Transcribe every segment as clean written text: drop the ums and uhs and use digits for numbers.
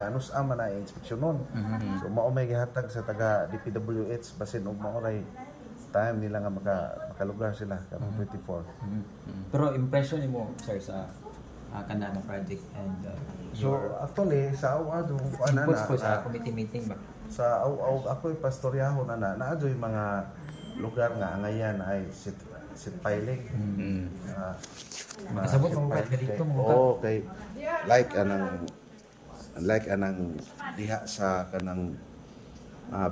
Anus ama na inspeksyonon. So mao may gihatag sa taga DPWH basin og mao ray time nila nga makalugar sila karong 24. Pero impression nimo, sir, sa kana nga project and So actually sa aw do kuan na inputs po sa committee meeting ba? Sa aw ako'y pastoryahon ana, naa joy mga lugar nga angayan ay sheet piling. Makasabot mo sheet ka piling dito mo ka. Oo, kay like anang diha sa kanang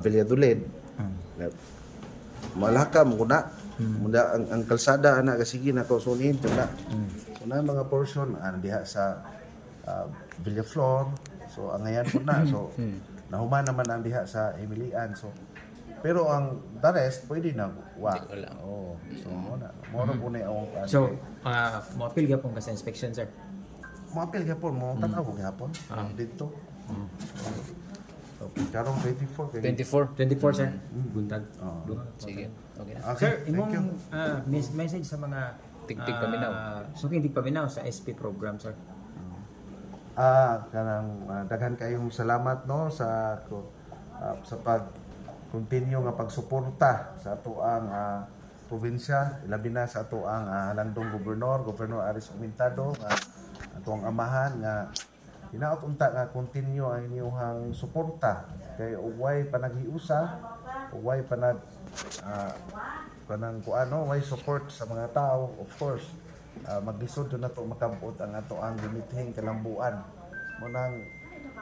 Villadolid. Malaka mo kuna. Munda ang kalsada ana kasige na ko sunin na. So na mga portion ang diha sa Villaflor. So angayan po na. So nahuman naman ang diha sa Himilian. So pero ang the rest pwede na wa. Wala. Oh, so mo na. Mo ra po na ang kuan. So, moapil gyapon ka sa inspection, sir? Moapil gyapon mo, tan-aw ko gyapon dito. So, karong 24 kay 24. 24, sir. Buntag. Oo. Duha. Sige. Okay na. Okay, Sir, thank imong you. message sa mga Tigtig paminaw. Suking tigpaminaw sa SP program, sir. Kanang daghan kayong salamat, no, sa pag continue nga pagsuporta sa atoang probinsya, ilabi na sa atoang landong gobernador, Governor Aris Aumentado, nga atoang amahan, nga hinaot unta nga continue ang inyong suporta kay ug way panaghiusa, ug way kanang kuano, way support sa mga tao, of course maglisod na to makabot ang ato ang gimithing kalambuan. Mo nang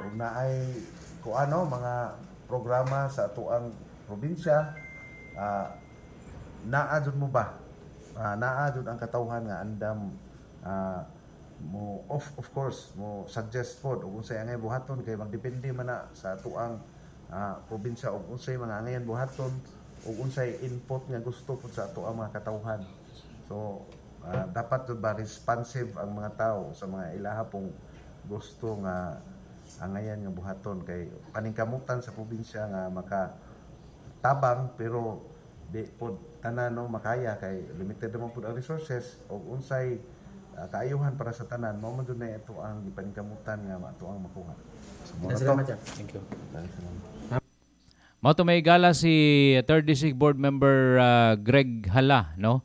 ug naay kuano, mga programa sa ato ang probinsya, naa jud mo ba, naa jud ang katawhan nga andam mo of course mo suggest pod og unsay angay buhaton, kay magdepende man na sa atoang probinsya og unsay mga angayan buhaton ug unsay input nga gusto pod sa atoang mga katawhan. So dapat jud ba responsive ang mga tao sa mga ilaha pong gusto nga angayan nga buhaton, kay paningkamutan sa probinsya nga maka tabang, pero di pod tanan, no, makaya kay limited naman pod ang resources, og unsay kaayuhan para sa tanan, mao man jud na ito ang gipaningkamutan nga ato ang makuha. So, mao na to. Salamat, sir. Thank you. Salamat. Mao to may gala si 3rd District Board Member Greg Hala, no?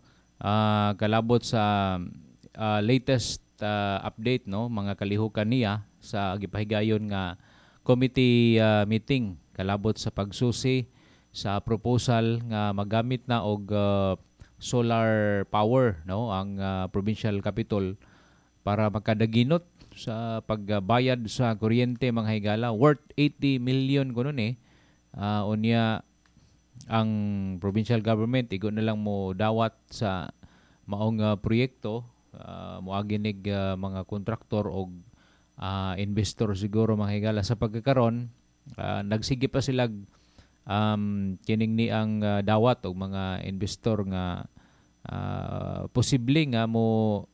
Kalabot sa latest update, no, mga kalihukan niya sa gipahigayon nga committee meeting kalabot sa pagsusi sa proposal nga magamit na og solar power, no, ang provincial capital para makadaginot sa pagbayad sa kuryente, mga higala. Worth 80 million kuno ni. Unya ang provincial government igo na lang mo dawat sa maong proyekto, moagi nig mga kontraktor og investor siguro, mga higala. Sa pagkakaron, nagsige pa sila kining ni ang dawat og mga investor nga posible nga mo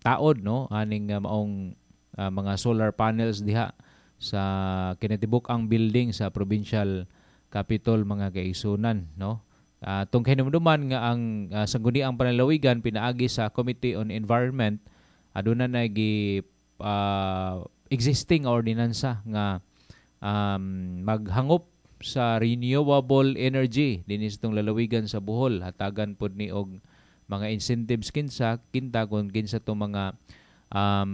taod, no, aning maong mga solar panels diha sa kinatibuk ang building sa provincial capitol, mga kaigsunan, no. Tong kahinumduman nga ang Sangguniang Panlalawigan pinaagi sa Committee on Environment aduna na gi existing ordinansa nga maghangop sa renewable energy dinhi sa itong lalawigan sa Bohol. Hatagan pod ni og mga incentives kinsa kinta kung kinsa tong mga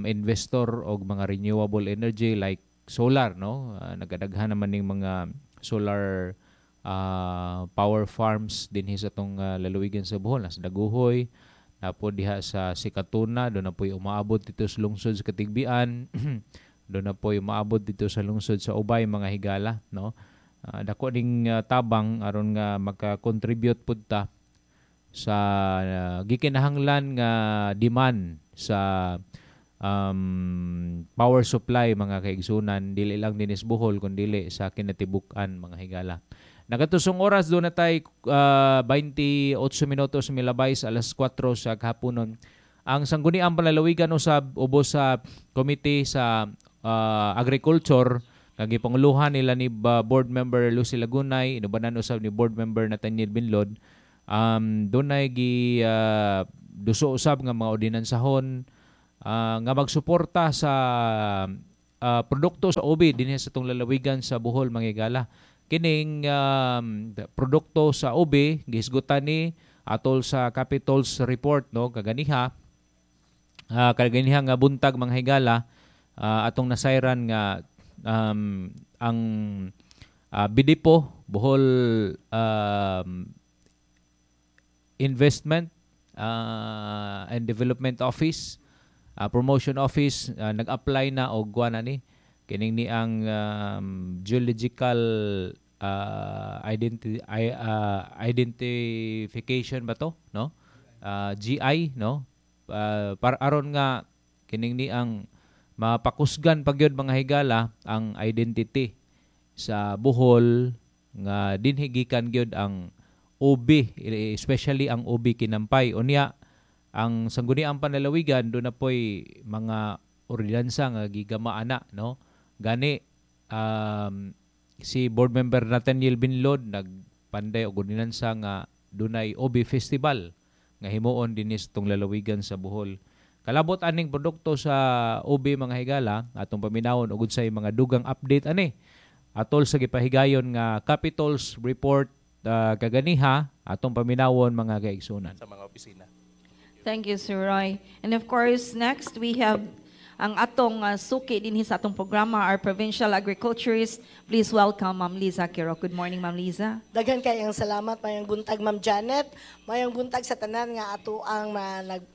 investor og mga renewable energy like solar, no. Nagadaghan naman ning mga solar power farms dinhi sa tong lalawigan sa Bohol, nasa Dagohoy na po, diha sa Sikatuna doon na po, umaabot dito sa lungsod sa Katigbian doon na po, umaabot dito sa lungsod sa Ubay, mga higala, no. Dako ning tabang aron nga maka-contribute pud ta sa gikinahanglan nga demand sa power supply, mga kaigsunan, dili lang dinhi sa Bohol kundi sa kinatibuk-an, mga higala. Nagatusong oras doon na tay 28 minutos milabay sa alas 4 sa kahaponon. Ang Sangguniang Panlalawigan usab ubos sa committee sa agriculture nga gipanguluhan nila ni board member Lucy Lagunay, inubanan usab ni board member Nathaniel Binlod. Dunay gi duso usab nga mga ordinansahon nga magsuporta sa produkto sa ubi dinhi sa atong lalawigan sa Bohol, mga higala. Kining produkto sa ubi gihisgutan ni atol sa Capitol's report, no, kaganiha kaganiha nga buntag, mga higala, atong nasayran nga ang BIDIPO, Bohol Investment and Development Office, Promotion Office, nag-apply na og kuan ani kining ni ang geological identification ba to, no, GI, no, para aron nga kining ni ang mapakusgan pagyud, mga higala, ang identity sa Bohol nga dinhi gikan gyud ang ubi, especially ang ubi kinampay. Unya ang Sangguniang Panlalawigan do na poy mga ordinansa nga gigama ana, no. Gani si board member Nathaniel Binlod nagpanday og ordinansa nga dunay Ubi Festival nga himuon dinhi sa atong lalawigan sa Bohol. Kalabot aning produkto sa ubi, mga higala, atong paminawon og unsay mga dugang update ani atol sa gipahigayon nga Capitol's report kaganiha, atong paminawon, mga kaigsunan. Sa mga opisina. Thank you, Sir Roy. And of course, next we have ang atong suki dinhi sa atong programa, our provincial agriculturist. Please welcome Ma'am Liza Quiro. Good morning, Ma'am Liza. Daghan kayong salamat, mayong buntag, Ma'am Janet. Mayong buntag sa tanan nga ato ang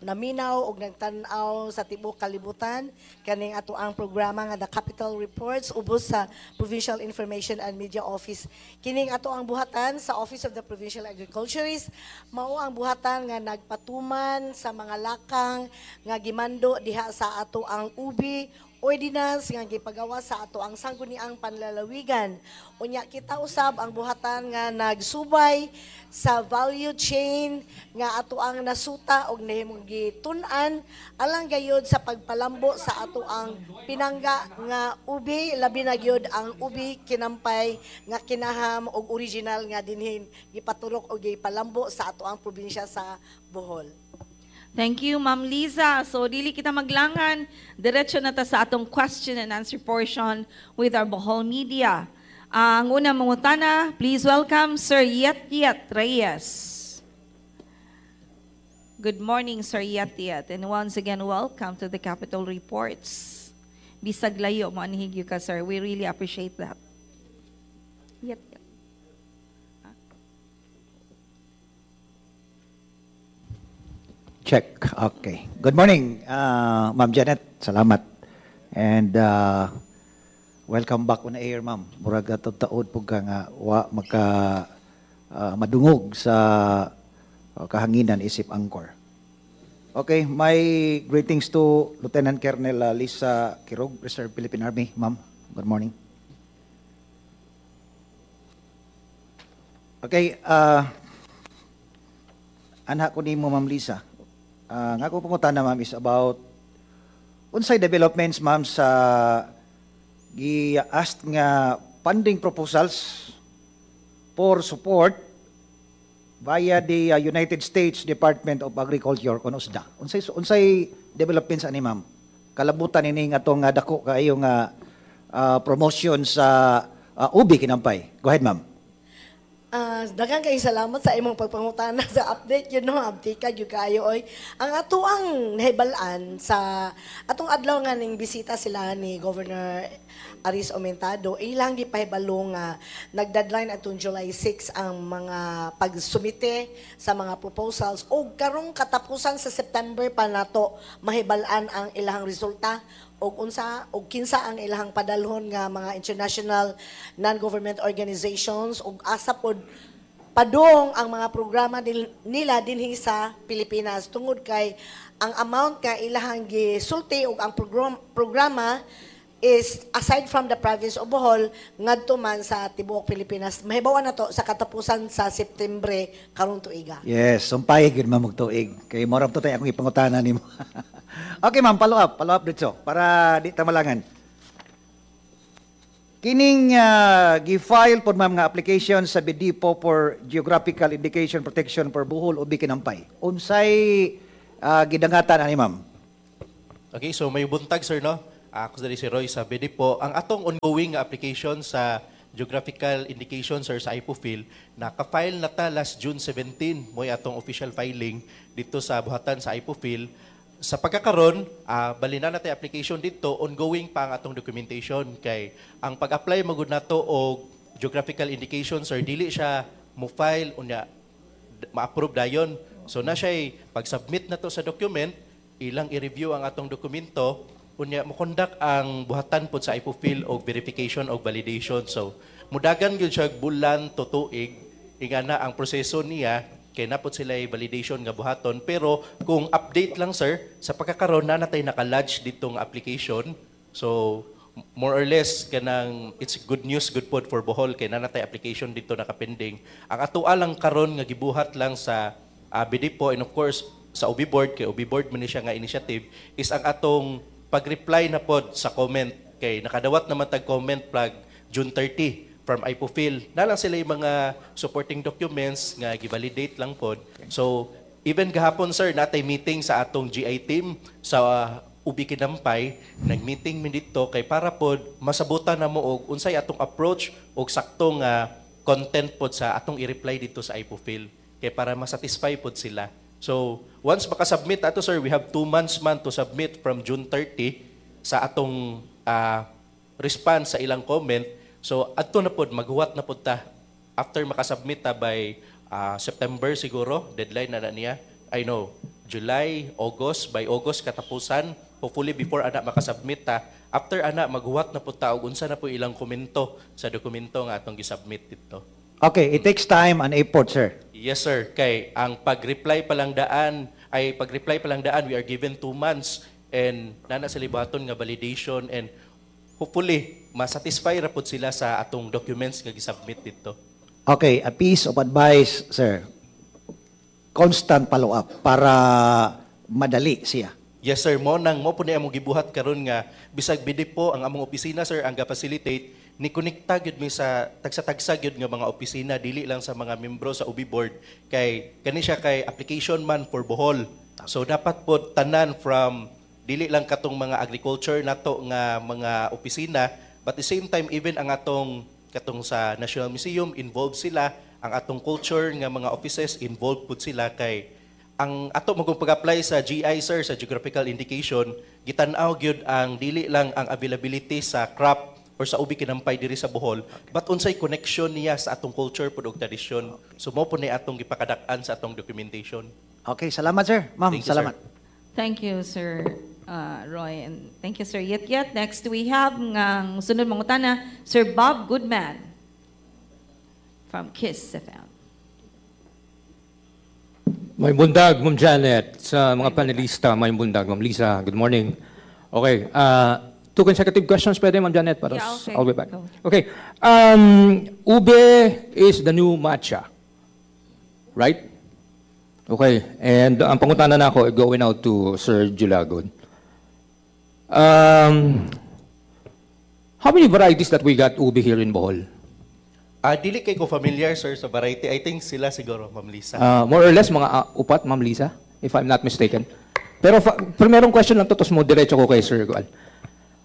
naminaw og nagtan-aw sa tibuok kalibutan kaning ato ang programa nga The Capital Reports ubos sa Provincial Information and Media Office. Kining ato ang buhatan sa Office of the Provincial Agriculturist mao ang buhatan nga nagpatuman sa mga lakang nga gimando diha sa ato ang ubi ordinance nga gipagawa sa ato ang Sangguniang Panlalawigan. Unya kita usab ang buhatan nga nagsubay sa value chain nga ato ang nasuta og nahimong gitun-an alang gayod sa pagpalambo sa ato ang pinangga nga ubi, labi na gyud ang ubi kinampay nga kinaham og original nga dinhin gipaturok og gipalambo sa ato ang probinsya sa Bohol. Thank you, Ma'am Liza. So, dili kita maglangan. Diretso na ta sa atong question and answer portion with our Bohol media. Ang unang mangutana, please welcome Sir Yet Yet Reyes. Good morning, Sir Yet Yet. And once again, welcome to the Capitol Reports. Bisag layo, moanhi gyud ka, sir. We really appreciate that. Yet Yet. Check. Okay. Good morning, Ma'am Janet. Salamat. And welcome back on air, ma'am. Murag atong taod pud ka nga wa maka madungog sa kahanginan isip anchor. Okay, my greetings to Lieutenant Colonel Lisa Quirog, Reserve Philippine Army. Ma'am, good morning. Okay, anha ko nimo, Ma'am Lisa. Nga ako pangutana, ma'am, is about unsay developments, ma'am, sa gi-asked nga funding proposals for support via the United States Department of Agriculture kon USDA. Unsay developments ani, ma'am? Kalabutan ini nga atong dako kaayo nga promotion sa ubi kinampay. Go ahead, ma'am. Daghan kay salamat sa imong pagpangutana sa update yun, no, update ka gyud kaayo oy. Ang ato ang nahibal-an sa atong adlaw nga ning bisita sila ni Governor Aris Aumentado, ilang gipahibalo nga nag-deadline atong July 6 ang mga pagsumite sa mga proposals og karong katapusan sa September pa nato mahibal-an ang ilahang resulta og unsa og kinsa ang ilahang padalhon nga mga international non-government organizations og asa pod padung ang mga programa nila dinhi sa Pilipinas, tungod kay ang amount nga ilahang gisulti og ang programa is aside from the province of Bohol ngadto man sa tibuok Pilipinas. Mahibaw na to sa katapusan sa September karong tuiga. Yes, sumpay gyud, ma'am, og tuig. Kay mao ra to tay akong ipangutana nimo. Okay, ma'am, follow up dito para di ta malangan. Kining gi-file pod, ma'am, nga application sa BDPO for Geographical Indication Protection for Bohol Ubi Kinampay. Unsay gidangatan ani, ma'am? Okay, so may buntag, sir, no? Ako diri si Roy sa BDPO. Ang atong ongoing nga application sa geographical indication, sir, sa IPOPHL, naka-file na ta last June 17, mo'y atong official filing dito sa buhatan sa IPOPHL. Sa pagkakaron, bali na natay application dito, ongoing pa ang atong documentation kay ang pag-apply magud nato og geographical indication, sir, dili siya mo file unya ma-approve dayon. So na siya pag-submit na to sa document, ilang i-review ang atong dokumento, unya mo conduct ang buhatan pod sa IPOPHL og verification og validation. So mudagan gyud siya bulan to tuig ingana ang proseso niya kay napot sila validation nga buhaton. Pero kung update lang, sir, sa pagkakaron na natay naka-lodge ditong application. So more or less kanang it's good news, good pod for Bohol kay na natay application dito nakapending. Ang atoa lang karon nga gibuhat lang sa BDPO and of course sa UB board, kay UB board man ni siya nga initiative, is ang atong pag-reply na pod sa comment kay nakadawat naman tag comment plug June 30 from IPOPHL. Na lang sila yung mga supporting documents nga gi-validate lang pod. So even gahapon, sir, natay meeting sa atong GI team sa Ubi Kinampay, nag-meeting mi dito kay para pod masabutan na mo og unsay atong approach og saktong content pod sa atong i-reply dito sa IPOPHL kay para masatisfy pod sila. So, once makasubmit ato, sir, we have 2 months man to submit from June 30 sa atong response sa ilang comment. So, adto na pod maghuwat na pod ta after makasubmit ta by September siguro, deadline na na niya. I know, July, August, by August katapusan, hopefully before ana makasubmit ta. After ana maghuwat na pod ta og unsa na po ilang komento sa dokumento nga atong gisubmit dito. Okay, it takes time and effort, sir. Yes, sir. Kay ang pag-reply pa lang daan, ay pag-reply pa lang daan, we are given 2 months and nana sa libaton nga validation and hopefully masatisfy ra pod sila sa atong documents nga gisubmit dito. Okay, a piece of advice, sir. Constant follow-up para madali siya. Yes, sir, mo nang mo po ni among gibuhat karon nga bisag BDPO ang among opisina, sir, ang ga-facilitate, ni konekta gyud mi sa tagsa-tagsa gyud nga mga opisina, dili lang sa mga membro sa UB board kay kani siya kay application man for Bohol. So dapat po tanan from dili lang katong mga agriculture nato nga mga opisina, but the same time even ang atong katong sa National Museum, involved sila, ang atong culture nga mga offices, involved pud sila kay ang ato magong pag-apply sa GI, sir, sa geographical indication, gitan-aw gyud ang dili lang ang availability sa crop or sa ubi kinampay diri sa Bohol, but unsay connection niya sa atong culture pud og tradisyon. So mo po ni atong gipakadak-an sa atong documentation. Okay, salamat, sir. Ma'am, Thank you, sir. Salamat. Thank you, Sir Roy, and thank you, Sir Yet Yet. Next, we have ang sunod mangutana, Sir Bob Goodman from KISS FM. Maayong buntag, Ma'am Janet, sa mga panelista, maayong buntag, Ma'am Lisa, good morning. Okay, two consecutive questions pwede, Ma'am Janet, para Yeah, okay. I'll be back. Go. Okay, ube is the new matcha, right? Okay, and ang pangutana na ako, going out to Sir Julagon. How many varieties that we got ube here in Bohol? Ah, dili kay ko familiar, sir, sa variety. I think sila siguro, Ma'am Lisa. More or less, mga upat, Ma'am Lisa, if I'm not mistaken. Pero primerong question lang to, tapos mo diretso ko kay Sir Gual.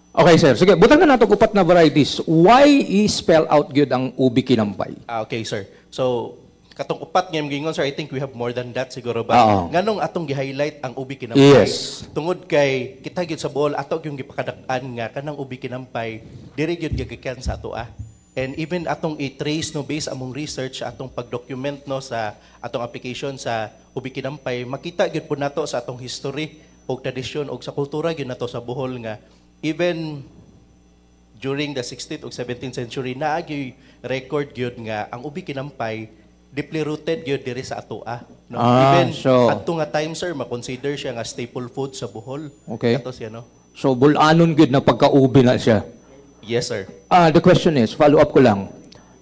Okay, sir. Sige, butang na nato upat na varieties. Why i-spell out gyud ang ubi kinampay? Ah, okay, sir. So, katong upat nga gingon, sir, I think we have more than that siguro ba. Nganong atong gi-highlight ang ubi kinampay? Tungod kay kita gyud sa Bohol, ato gyud gipakadak-an nga kanang ubi kinampay diri gyud gigikan sa ato ah. And even atong i-trace no, based among research, atong pag-document no, sa atong application sa ubi kinampay, makita gyud po nato sa atong history og tradisyon og sa kultura gyud nato sa Bohol nga even during the 16th ug 17th century naa gyud record gyud nga ang ubi kinampay deeply rooted gyud diri sa atoa no. Even adto nga time, sir, ma-consider siya nga staple food sa Bohol. Ato siya no. So, bulanon gyud na pagka-ubi na siya. Yes, sir. Ah, the question is, follow up ko lang.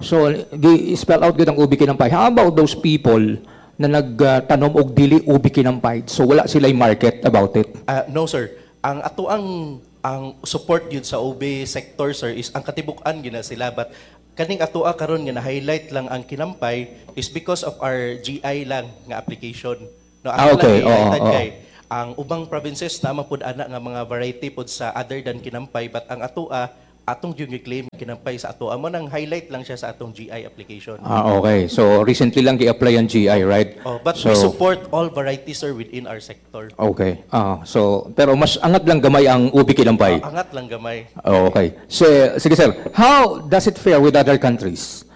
So, gi-spell out gyud ang ubi kinampay. How about those people na nagtanom og dili ubi kinampay? So, wala sila market about it? Ah, no, sir. Ang ato ang support gyud sa ube sector, sir, is ang katibuk-an gyud na sila, but kaning atoa karon nga na-highlight lang ang kinampay is because of our GI lang nga application. No, ato lang i-highlight kay Ang ubang provinces na pud ana nga mga variety pod sa other than kinampay, but ang atoa, atong gyud gi-claim kinampay sa atoa mo nang highlight lang siya sa atong GI application. Ah, okay. So recently lang gi-apply ang GI, right? Oh, but so, we support all varieties, sir, within our sector. Okay. Ah, so pero mas angat lang gamay ang ubi kinampay. Ah, angat lang gamay. Oh, okay. So, sige sir, how does it fare with other countries?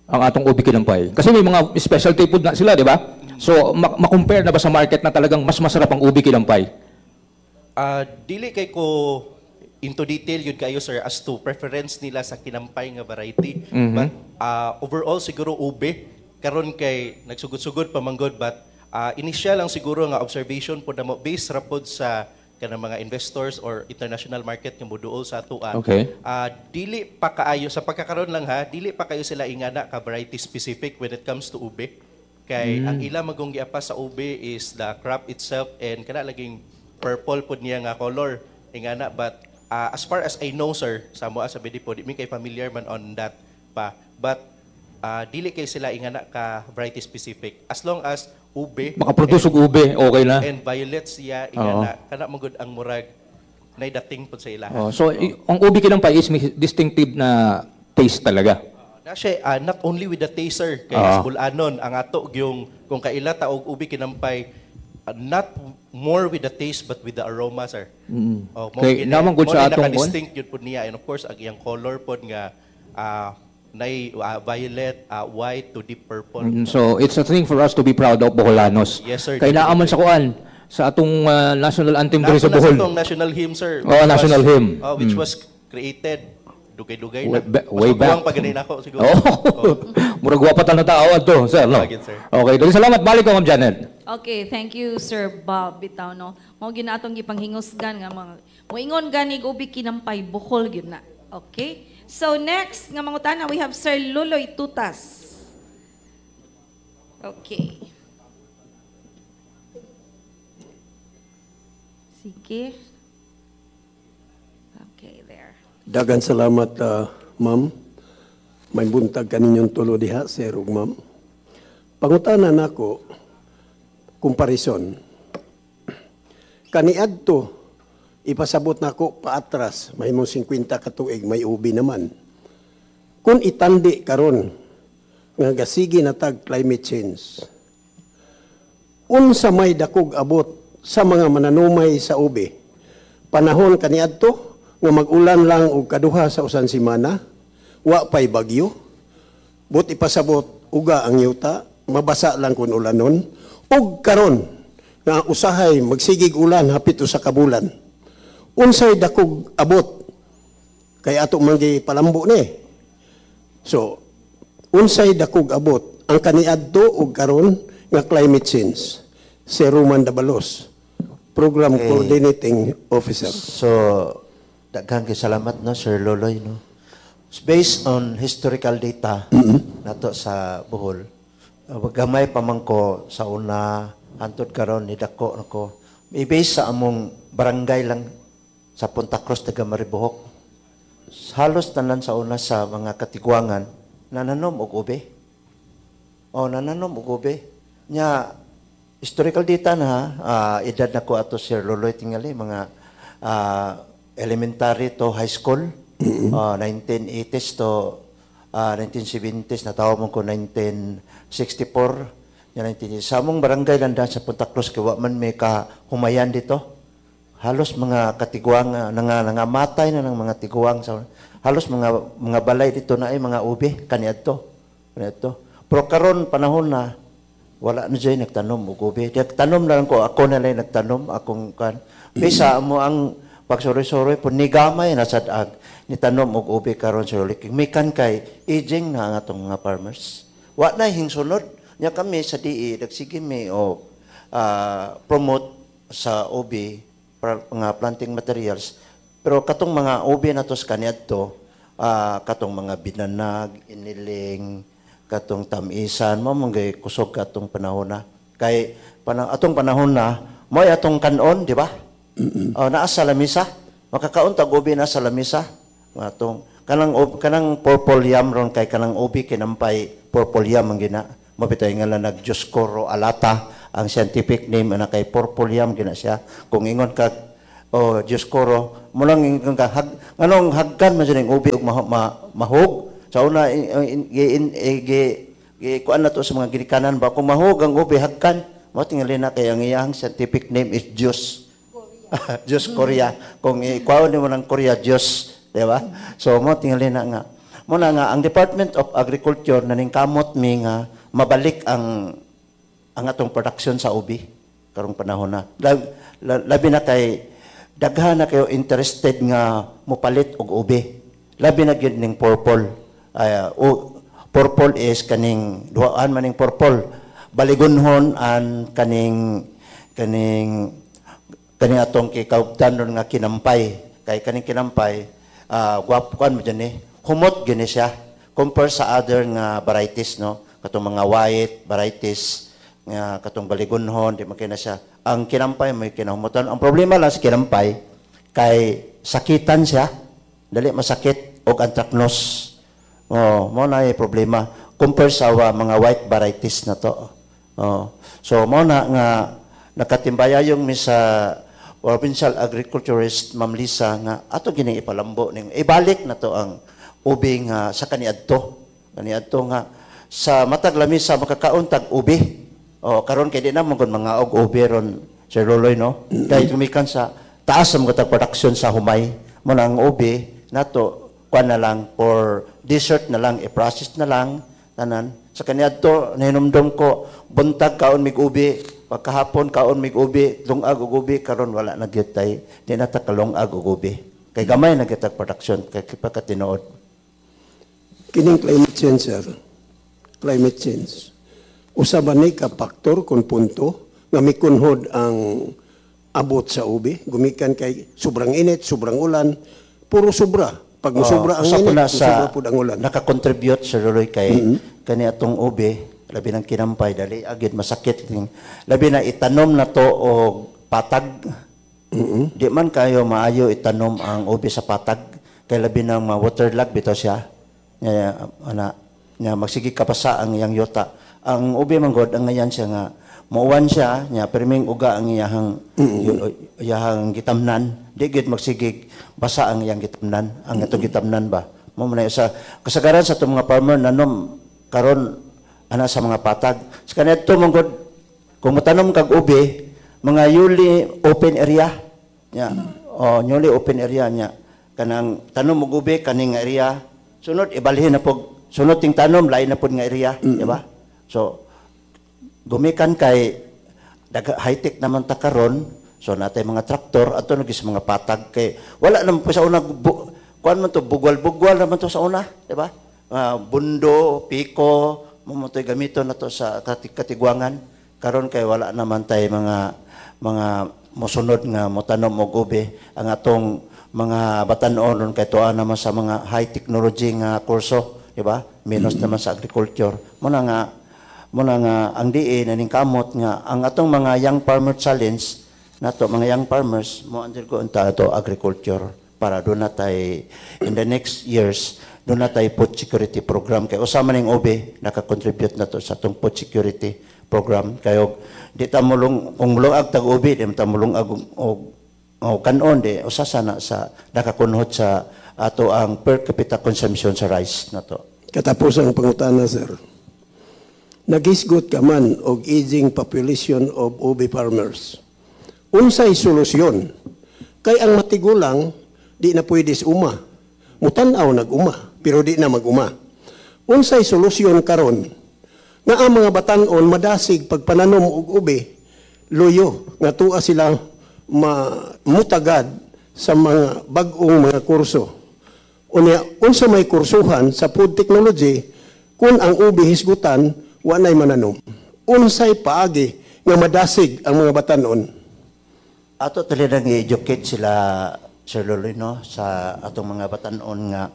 Ang atong ubi kinampay. Kasi may mga specialty food na sila, di ba? So, ma-compare na ba sa market na talagang mas masarap ang ubi kinampay? Ah, dili kay ko into detail yun kayo, sir, as to preference nila sa kinampay nga variety. But overall siguro ube karon kay nagsugod-sugod pa manggod, but initial lang siguro nga observation po namo based ra pod sa kanang mga investors or international market nga moduol sa atoa. Dili pa kaayo sa pagkakaroon lang ha, dili pa kayo sila ingana ka variety specific when it comes to ube. Kay ang ila magong giapas sa ube is the crop itself and kana laging purple pod niya nga color ingana, but as far as I know, sir, sa moa sa BD po, di mi kay familiar man on that pa, but dili kay sila ingana ka variety specific as long as ube Makaproduce og ube, okay na. And violet siya ingana, kana magud ang murag nay dating pod sa ilaha. Oh, so, ang ubi kinampay is may distinctive na taste talaga. Na siya, not only with the taste, sir, kay as bulanon ang ato gyung kung kaila ta og ubi kinampay, not more with the taste but with the aroma, sir. Oh, mo Kay naman gud mo sa ni atong kon. Naka-distinct yun pud niya, and of course ang iyang color pod nga nay violet, white to deep purple. So, it's a thing for us to be proud of, Boholanos. Yes, sir. Kay naaman sa kuan, sa atong national anthem diri sa Nato na Bohol. sa atong national hymn, sir. Oh, national hymn. Which was created dugay-dugay na. Way, way Mas back. maguwang pa ganun ako siguro. Oh. Murag wa pa ta na tao adto, sir, no? Bagay, sir. Okay, dali salamat, balik ko, Ma'am Janet. Okay, thank you, Sir Bob bitaw, no. Mao ginatong gipanghingusgan nga mga moingon gani ubi kinampay, Bohol gyud na. Okay? So next nga mangutana, we have Sir Luloy Tutas. Okay. Sige. Okay, there. Dagan salamat, ma'am. May buntag kaninyong tulo diha, sir ug ma'am. Pangutana nako, comparison. Kaniadto, ipasabot nako paatras, mahimong 50 ka tuig, may ubi naman. Kung itandi karon nga gasigi na tag climate change, unsa may dakog abot sa mga mananumay sa ubi? Panahon kaniadto nga mag-ulan lang og kaduha sa usan semana, wa pay bagyo, but ipasabot uga ang yuta, mabasa lang kun ulanon, ug karon nga usahay magsigig ulan hapit usa ka bulan. Unsay dakog abot kay ato man palambo ni? So, unsay dakog abot ang kaniadto ug karon nga climate change? Si Roman Dabalos, Program Coordinating Officer. So, daghang kay salamat, no, Sir Loloy, no. Based on historical data nato sa Bohol, gamay pa man ko sa una hantod karon ni dako nako. I-base sa among barangay lang sa Punta Cruz, taga Maribojoc. Halos tanan sa una sa mga katiguangan nananom og ube. Oh, nananom og ube. Nya historical data na ha, edad na ko ato, Sir Loloy, tingali mga elementary to high school, 1980s to 1970s, natawo mo ko 1964 nya 19 sa among barangay lang sa Punta Cruz kay wa man may ka humayan dito, halos mga katiguang nangamatay na ng mga tiguang sa halos mga balay dito na ay mga ube kaniadto kaniadto. Pero karon panahon na wala na dyan nagtanom og ube. Nagtanom na lang ko, ako na lang nagtanom akong kan bisa mo ang pagsuroy-suroy po ni gamay na sad ag nitanom og ube karon sa ulik. Mikan kay aging na ang atong mga farmers. Wa na hingsunod nya kami sa DE nagsige mi og promote sa ube mga planting materials. Pero katong mga ube na to sa kaniadto, katong mga binanag, iniling, katong tamisan, mo manggay kusog katong panahon na. Kay atong panahon na, mo'y atong kanon, di ba? Oh, naa sa lamisa. Makakaon tag ubi na sa lamisa. Atong kanang purple yam ron kay kanang ubi kinampay purple yam ang gina. Mapitay nga lang nag Dioscoro alata Ang scientific name ana kay purple yam gina siya. Kung ingon ka, oh Dioscoro, mo lang ingon ka hag, nganong hagkan man siya ning ubi ug mahog. Sa una in, in, in, gi kuan na to sa mga ginikanan ba, kung mahog ang ubi hagkan, mo tingali na kay ang iyang scientific name is Dios. Dios Korea. Kung ikuhaon nimo ng Korea, Diyos, di ba? So mo tingali na nga. Mo na nga ang Department of Agriculture naningkamot mi nga mabalik ang atong production sa ubi karong panahon na. Labi na kay daghan na kayo interested nga mopalit og ubi. Labi na gyud ning purple. Ay, o, purple is kaning duhaan man ning purple. Baligunhon an kaning kaning kaning atong kikaubdan ron nga kinampay. Kay kaning kinampay, gwapo kan mo dyan eh. Humot gini siya compare sa other nga varieties, no? Katong mga white varieties nga katong baligunhon, di man kay na siya. Ang kinampay may kinahumutan. Ang problema lang sa kinampay kay sakitan siya, dali masakit og anthracnose. Oh, mo na yung problema compare sa mga white varieties na to. Oh. So mo na nga nakatimbayayong mi sa provincial agriculturist Ma'am Lisa nga ato gini ipalambo ning ibalik na to ang ubi nga sa kaniadto. Kaniadto nga sa matag lamisa makakaon tag ubi. Oh, karon kay di na mo gud mga og ubi ron, Sir Loloy, no. Kay gumikan sa taas ang mga production sa humay mo na ang ubi nato kuan na lang for dessert na lang, i-process na lang tanan. Sa kaniadto nahinumdum ko buntag kaon mig ubi, pagkahapon kaon mig ubi, lungag og ubi, karon wala na gyud tay, di na ta kalungag og ubi. Kay gamay na gyud tag production kay pagkatinuod. Kining climate change, sir. Climate change. Usa ba ni ka faktor kung punto nga mikunhod ang abot sa ubi, gumikan kay sobrang init, sobrang ulan, puro sobra. Pag musobra ang usa po init, na sa musobra pud ang ulan. Naka-contribute, Sir Loloy, kay kani atong ubi, labi ng kinampay, dali agid masakit ning labi na itanom na to og patag. Di man kayo maayo itanom ang ubi sa patag kay labi ng mga waterlog bitaw siya. Nya ana nya magsige kapasa ang iyang yuta. Ang ubi man god ang ngayan siya nga muuwan siya nya pirming uga ang iyahang iyahang gitamnan. Di gyud magsigig basa ang iyang gitamnan, ang atong gitamnan ba. Mo man sa kasagaran sa atong mga farmer nanom karon ana sa mga patag. Sa kaniadto man god kung motanom kag ubi, mga newly open area nya. Oh, newly open area nya. Kanang tanom og ubi kaning area, sunod ibalhin na pog, sunod ting tanom lain na pod nga area, di ba? So gumikan kay high-tech naman ta karon, so natay mga traktor ato nagi sa mga patag kay wala naman po sa una kuan man to bugwal-bugwal naman to sa una, di ba? Bundo, piko, mo man to'y gamiton na to sa katigwangan. Karon kay wala naman tay mga mosunod nga motanom og ubi. Ang atong mga batan-on ron kay tuwa naman sa mga high technology nga kurso, di ba? Menos naman sa agriculture. Muna nga ang DA naningkamot nga ang atong mga young farmer challenge nato, mga young farmers mo undergo unta ato agriculture para doon na tay in the next years doon na tay food security program kay usa man ning ubi naka-contribute na to sa atong food security program kayo di ta mulong kung mulungag tag ubi di ta mulungag og kanon di usa sana sa nakakunhot sa ato ang per capita consumption sa rice nato. Katapos ang pangutana, sir. Nagisgot ka man og aging population of ubi farmers. Unsay solusyon? Kay ang matigulang di na pwede sa uma. Mutan-aw nag-uma, pero di na mag-uma. Unsay solusyon karon? Nga ang mga batan-on madasig pagpananom og ubi, luyo nga tuwa sila mutagad sa mga bag-ong mga kurso. Unya, unsa may kursuhan sa food technology kung ang ubi hisgutan wa nay mananom. Unsay paagi nga madasig ang mga batan-on? Ato talagang i-educate sila, Sir Loloy, no, sa atong mga batan-on nga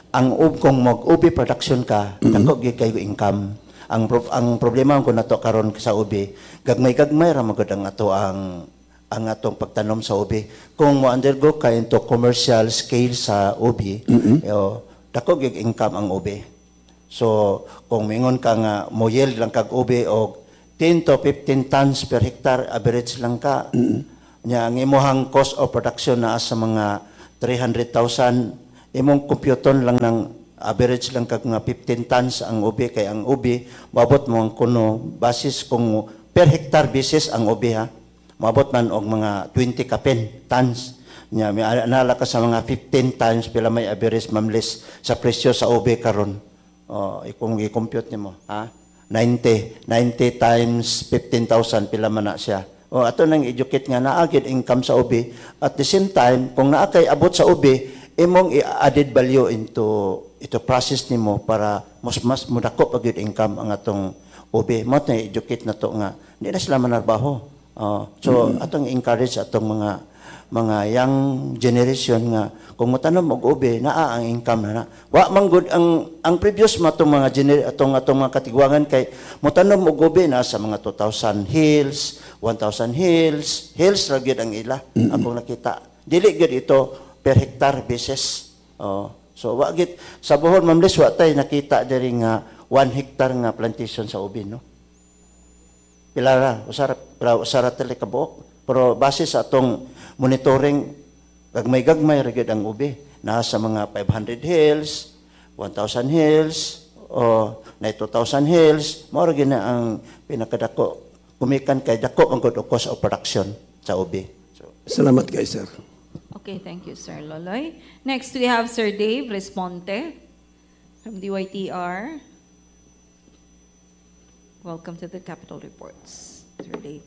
ang kung mag-ubi production ka, dako gyud kayo income. Ang problema ko nato karon sa ubi, gagmay-gagmay ra magud ang ato ang atong pagtanom sa ubi. Kung mo undergo ka into commercial scale sa ubi, dako gyud income ang ubi. So kung mingon ka nga mo yield lang kag ubi og 10 to 15 tons per hectare average lang ka. Nya ang imuhang cost of production naa sa mga 300,000, imong computon lang ng average lang kag nga 15 tons ang ubi, kay ang ubi moabot mo ang kuno basis kung per hectare basis ang ubi ha, moabot man og mga 20 kapin tons. Nya may anala ka sa mga 15 times, pila may average, Ma'am Liz, sa presyo sa ubi karon? Oh, kung i-compute nimo ha, 90 90 times 15,000, pila man na siya? Oh, ato nang educate nga naa gyud income sa ubi. At the same time, kung naa kay abot sa ubi, imong i-added value into ito process nimo para mas mas mudako pa gyud income ang atong ubi mo. Na educate na to nga hindi na sila manarbaho. Oh, so atong encourage atong mga young generation nga kung motanom og ubi, naa ang income na na. Wa man gud ang previous mo atong mga atong atong mga katigwangan kay motanom og ubi na sa mga 2,000 hills, 1,000 hills, hills ra gyud ang ila. Akong nakita. Dili gyud ito per hectare basis. Oh, so wa gyud sa Bohol, Ma'am Liz, wa tay nakita diri nga 1 hectare nga plantation sa ubi, no. Pila ra, usara pila, usara tali ka buok. Pero base sa atong monitoring, gagmay-gagmay ra gyud ang ubi. Naa sa mga 500 hills, 1,000 hills, o na 2,000 hills, mao ra gyud na ang pinakadako. Gumikan kay dako ang good cost of production sa ubi. So, Salamat kay sir. Okay, thank you, Sir Loloy. Next, we have Sir Dave Responte from DYTR. Welcome to the Capitol Reports, Sir Dave.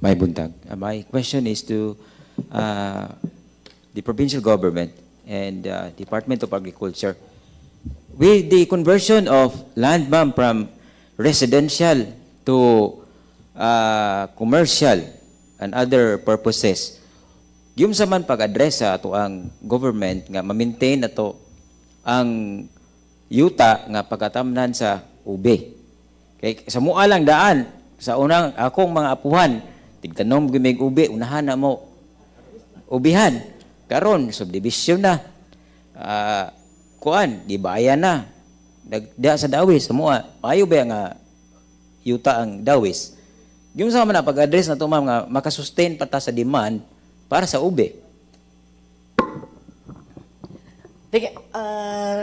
May buntag. My question is to the provincial government and Department of Agriculture. With the conversion of land, ma'am, from residential to commercial and other purposes, yung sa man pag-address sa ato ang government nga ma-maintain na to ang yuta nga pagkatamnan sa ube. Kay sa mua lang daan, sa unang akong mga apuhan, tigtanom gimig ube, unahan na mo ubihan. Karon subdivision na. Kuan, gibayan na. Nagda sa Dawis sa mua. Maayo ba nga yuta ang Dawis? Yung sa man na pag-address na to, ma'am, nga makasustain pa ta sa demand para sa ube.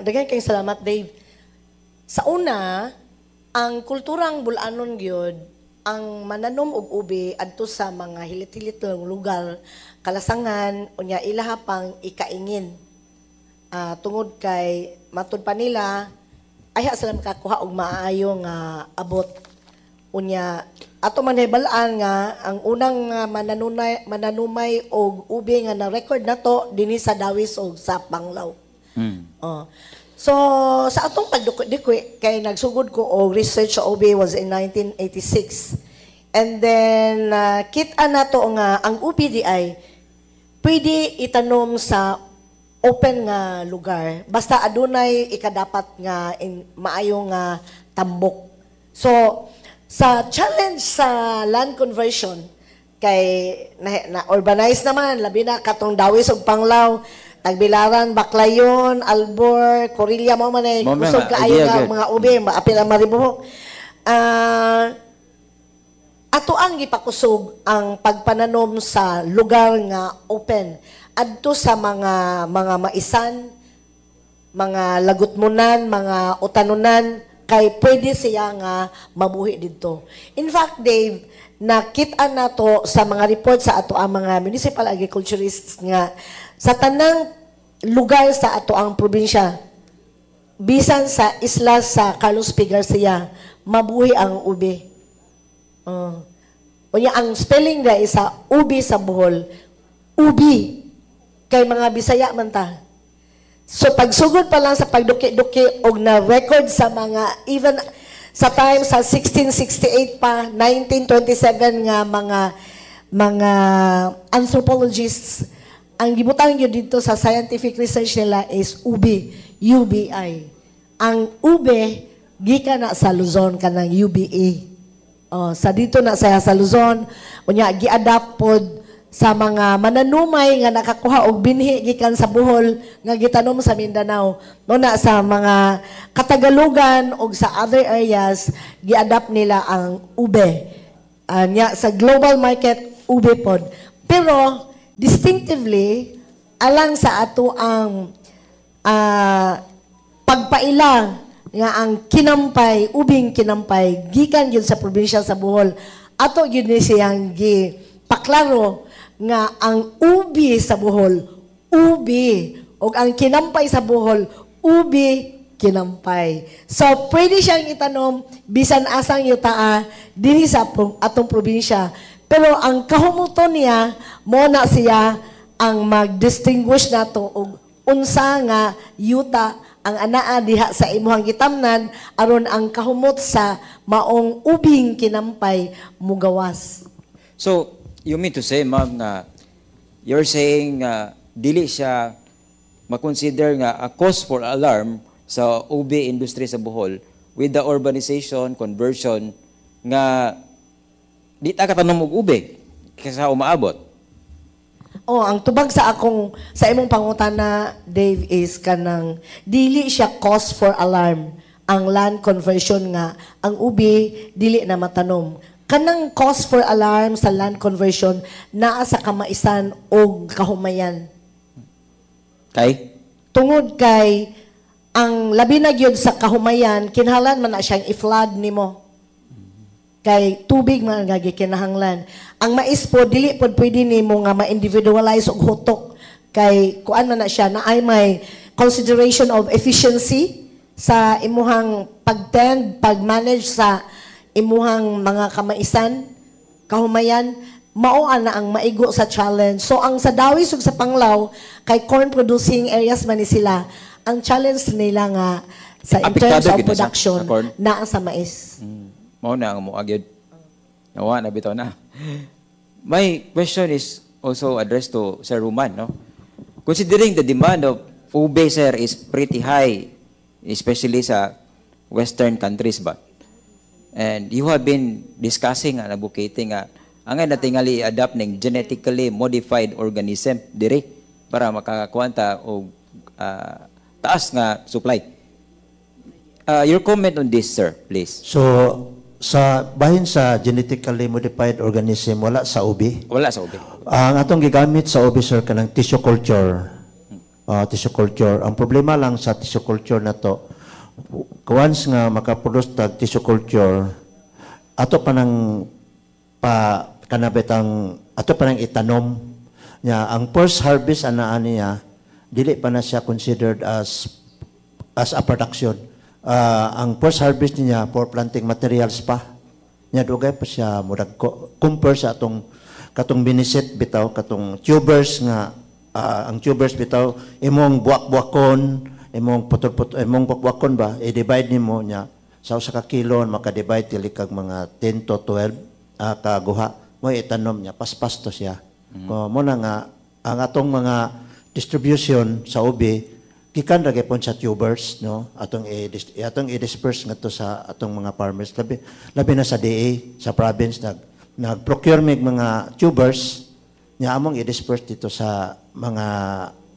Daghan kayong salamat, Dave. Sa una, ang kulturang Bulanon gyud ang mananom og ube adto sa mga hilit-hilit lang lugar, kalasangan, unya ilaha pang ikaingin. Tungod kay matud pa nila ayha sila makakuha og maayo nga abot. Unya ato man hibalaan nga ang unang mananumay og ube nga na record nato dinhi sa Dawis og sa Panglao. Oh. So sa atong pagdukot-dikwi kay nagsugod ko og research sa ube was in 1986. And then kita nato nga ang ube di ay pwede itanom sa open nga lugar basta adunay ikadapat nga maayo nga tambok. So sa challenge sa land conversion kay na urbanize naman labi na katong Dawis ug Panglao, Tagbilaran, Baclayon, Albor, Corilla, mo man ay kusog kaayo nga mga ube, maapil ang Maribojoc. Ato ang gipakusog ang pagpananom sa lugar nga open adto sa mga maisan, mga lagutmunan, mga utanunan, kay pwede siya nga mabuhi didto. In fact, Dave, nakita nato sa mga report sa ato ang mga municipal agriculturists nga sa tanang lugar sa ato ang probinsya, bisan sa isla sa Carlos P. Garcia, mabuhi ang ube. Unya ang spelling na isa ubi sa Bohol, ubi kay mga Bisaya man ta. So pagsugod pa lang sa pagduki-duki og na record sa mga even sa time sa 1668 pa, 1927 nga mga anthropologists ang gibutang yun dito sa scientific research nila is ubi, UBI. Ang ube gikan na sa Luzon kanang UBA. Oh, sa dito na saya sa Luzon, unya gi-adapt pod Sa mga mananumay nga nakakuha og binhi gikan sa Bohol nga gitanom sa Mindanao. No na sa mga Katagalugan og sa other areas, giadapt nila ang ube. Nya sa global market, ube pod. Pero distinctively alang sa ato ang pagpaila nga ang kinampay, ubing kinampay gikan gyud sa probinsya sa Bohol. Ato gyud ni siyang gi paklaro nga ang ubi sa Bohol, ubi, ug ang kinampay sa Bohol, ubi kinampay. So pwede siyang itanom bisan asang yutaa dinhi sa atong probinsya. Pero ang kahumuton niya, mo na siya ang mag-distinguish nato og unsa nga yuta ang anaa diha sa imuhang gitamnan aron ang kahumot sa maong ubing kinampay mugawas. So, you mean to say, ma'am, nga you're saying nga dili siya makonsider nga a cause for alarm sa ube industry sa Bohol with the urbanization, conversion, nga di ta katanom og ube kaysa umaabot? Oh, ang tubag sa imong pangutana, Dave, is kanang dili siya cause for alarm ang land conversion nga ang ubi dili na matanom. Kanang cause for alarm sa land conversion naa sa kamaisan og kahumayan. Kay? Tungod kay ang labi na gyud sa kahumayan, kinahanglan man na siyang i-flood nimo. Kay tubig man nga gikinahanglan. Ang mais po, dili pod pwede nimo nga ma-individualize og hutok. Kay kuan man na siya na ay may consideration of efficiency sa imuhang pag-tend, pag-manage sa imuhang mga kamaisan, kahumayan, mao ana ang maigo sa challenge. So ang sa Dawis ug sa Panglao, kay corn producing areas man ni sila, ang challenge nila nga sa in terms Apektado of gyud na siya production sa corn? Naa sa mais. Mao na ang mua gyud. Nawa na bitaw na. My question is also addressed to Sir Roman, no? Considering the demand of ube, sir, is pretty high, especially sa Western countries ba? And you have been discussing and advocating nga ang nga natingali adapt ning genetically modified organism dire para makakuanta og taas nga supply. Your comment on this, sir, please. So, sa bahin sa genetically modified organism, wala sa ubi. Wala sa ube. Ang atong gigamit sa ubi, sir, kanang tissue culture. Tissue culture. Ang problema lang sa tissue culture na to, once nga makaproduce tag tissue culture, ato pa nang pa kanabetang ato pa nang itanom nya. Ang first harvest ana niya, dili pa na siya considered as a production. Ang first harvest niya, for planting materials pa. Nya dugay pa siya murag compare sa atong katong binisit bitaw, katong tubers nga ang tubers bitaw imong buwak-buwakon, imong putol-putol, imong buwak-buwakon ba, i-divide nimo nya sa usa ka kilo maka-divide dili kag mga 10 to 12 kaguha mo itanom niya, paspas to siya. Ko mo na nga ang atong mga distribution sa ubi gikan ra gyapon sa tubers, no? Atong i-disperse ngadto sa atong mga farmers, labi labi na sa DA sa province, nag-procure mig mga tubers nya among i-disperse dito sa mga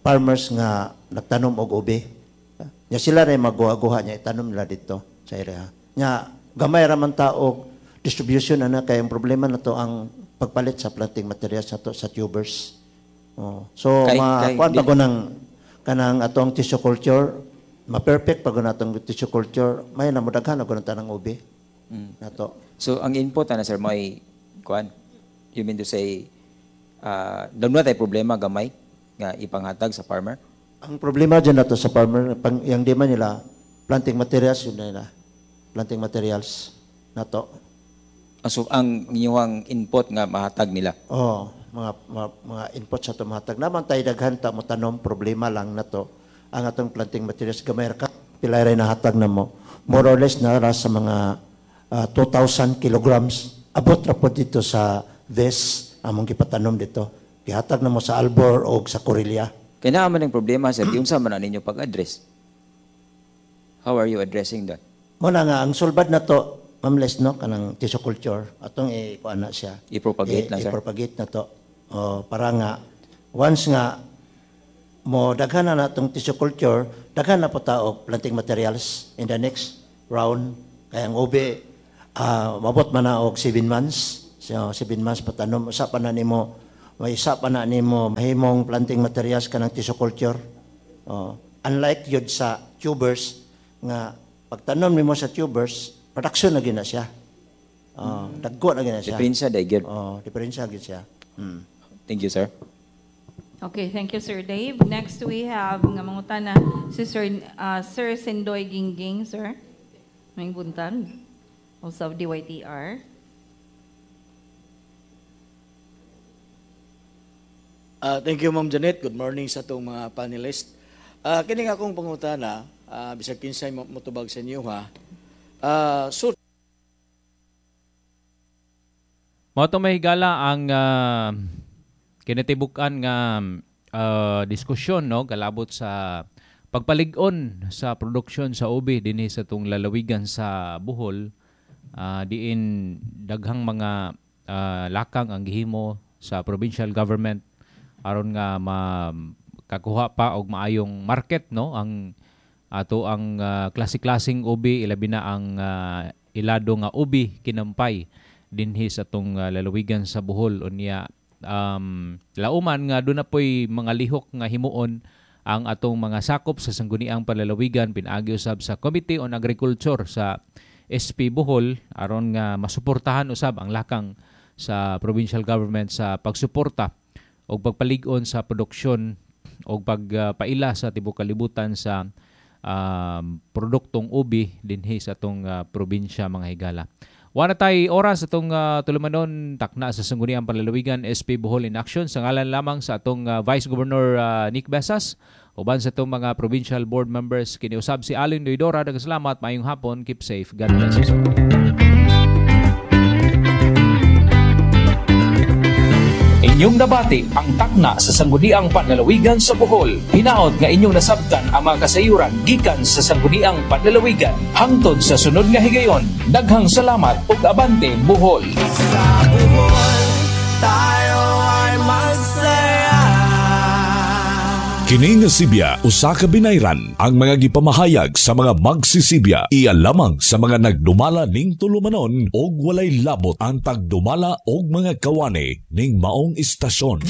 farmers nga nagtanom og ubi nya sila ray magguha-guha nya itanom nila dito sa area nya. Gamay ra man ta og distribution ana kay ang problema na to ang pagpalit sa planting materials nato sa tubers. Oh. So ma kuan pa ko ng kanang atong tissue culture, ma-perfect pa ko natong tissue culture, may namudaghan ako ng tanang ubi nato. So ang input ana, sir, may kuan, you mean to say doon na tayo problema gamay nga ipanghatag sa farmer? Ang problema dyan nato sa farmer, pang, yung di man nila, planting materials yun na nila. Planting materials nato. So ang inyong input nga mahatag nila. Oh, mga input sa tumatag. Naman tayo daghan ta mo tanom, problema lang nato ang atong planting materials gamay ra ka pilay ray nahatag na mo. More or less na ra sa mga 2,000 kilograms. Abot ra po dito sa VES among gipatanom dito. Gihatag na mo sa Albor o sa Corelia. Kaya naa man ang problema, sir, di unsa man na ninyo pag-address? How are you addressing that? Mo na nga ang sulbad na to, Ma'am Les, no, kanang tissue culture atong i-kuan na siya. I-propagate na, sir. I-propagate na to. Oh, para nga once nga mo daghan na natong tissue culture, daghan na po ta og planting materials in the next round. Kaya ang ube mabot man na og 7 months. So 7 months patanom, usa pa na nimo, may isa pa na nimo mahimong planting materials kanang tissue culture. Oh, unlike yun sa tubers nga pagtanom nimo sa tubers, production na gyud na siya. Oh, dagko na gyud na siya. Diferensya day gyud. Oh, diferensya gyud siya. Thank you, sir. Okay, thank you, Sir Dave. Next we have nga mangutana si Sir Sendoy Gingging, sir. May buntag. Also of DYTR. Thank you, Ma'am Janet. Good morning sa atong mga panelist. Kini nga akong pangutana, bisag kinsay motubag sa inyo ha. So Mao to, mga higala, ang kinatibuk-an nga diskusyon, no, kalabot sa pagpalig-on sa produksyon sa ubi dinhi sa atong lalawigan sa Bohol, diin daghang mga lakang ang gihimo sa provincial government aron nga makakuha pa og maayong market, no, ang ato ang klase-klaseng ubi, ilabi na ang ilado nga ubi kinampay dinhi sa atong lalawigan sa Bohol. Unya lauman nga doon na po'y mga lihok nga himuon ang atong mga sakop sa sangguniang panlalawigan pinaagi usab sa Committee on Agriculture sa SP Bohol aron nga masuportahan usab ang lakang sa provincial government sa pagsuporta o pagpalig-on sa produksyon o pagpaila sa tibuok kalibutan sa produktong ubi dinhi sa atong probinsya, mga higala. Wala tay oras atong tulumanon, takna sa Sangguniang Panlalawigan SP Bohol in Action, sa ngalan lamang sa atong Vice Governor Nick Besas uban sa atong mga provincial board members, kiniusab si Alin Noidora. Daghang salamat, maayong hapon, keep safe, God bless us all. Inyong nabati ang takna sa Sangguniang Panlalawigan sa Bohol. Hinaot nga inyong nasabtan ang mga kasayuran gikan sa Sangguniang Panlalawigan. Hangtod sa sunod nga higayon, daghang salamat ug abante Bohol. Sa Bohol, tayo ay magsaya. Kini nga sibya usa ka binayran ang mga gipamahayag sa mga magsisibya iya lamang sa mga nagdumala ning tulumanon og walay labot ang tagdumala og mga kawani ning maong istasyon.